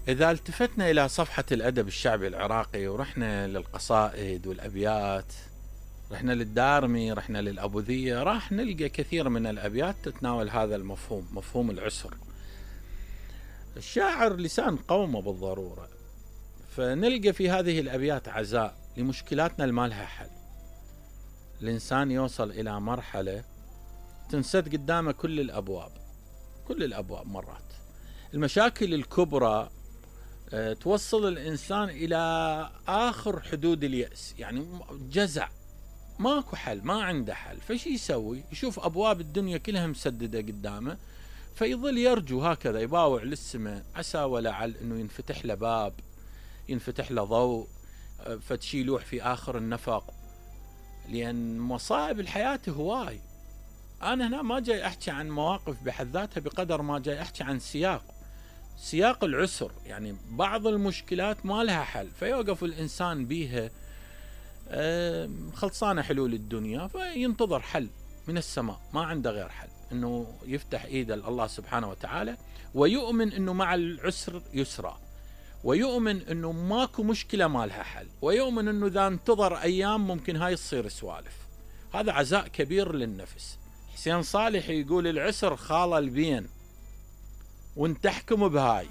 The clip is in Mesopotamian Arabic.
إذا التفتنا إلى صفحة الأدب الشعبي العراقي ورحنا للقصائد والأبيات، رحنا للدارمي، رحنا للأبوذية، راح نلقى كثير من الأبيات تتناول هذا المفهوم، مفهوم العسر. الشاعر لسان قومه بالضرورة، فنلقى في هذه الأبيات عزاء لمشكلاتنا المالها حل. الإنسان يوصل إلى مرحلة تنسد قدامه كل الأبواب مرات. المشاكل الكبرى توصل الإنسان إلى آخر حدود اليأس، يعني جزع، ماكو حل، ما عنده حل. فشي يسوي؟ يشوف أبواب الدنيا كلها مسددة قدامه، فيظل يرجو هكذا، يباوع للسماء، عسى ولعل أنه ينفتح له باب، ينفتح له ضوء، فتشي يلوح في آخر النفق. لأن مصائب الحياة هواي. أنا هنا ما جاي أحكي عن مواقف بحد ذاتها بقدر ما جاي أحكي عن سياق العسر. يعني بعض المشكلات ما لها حل، فيوقف الإنسان بيها خلصانة حلول الدنيا، فينتظر حل من السماء، ما عنده غير حل أنه يفتح إيده الله سبحانه وتعالى، ويؤمن أنه مع العسر يسرا، ويؤمن أنه ماكو مشكلة ما لها حل، ويؤمن أنه إذا انتظر أيام ممكن هاي تصير سوالف. هذا عزاء كبير للنفس. حسين صالح يقول العسر خال البين، وانت تحكم بهاي.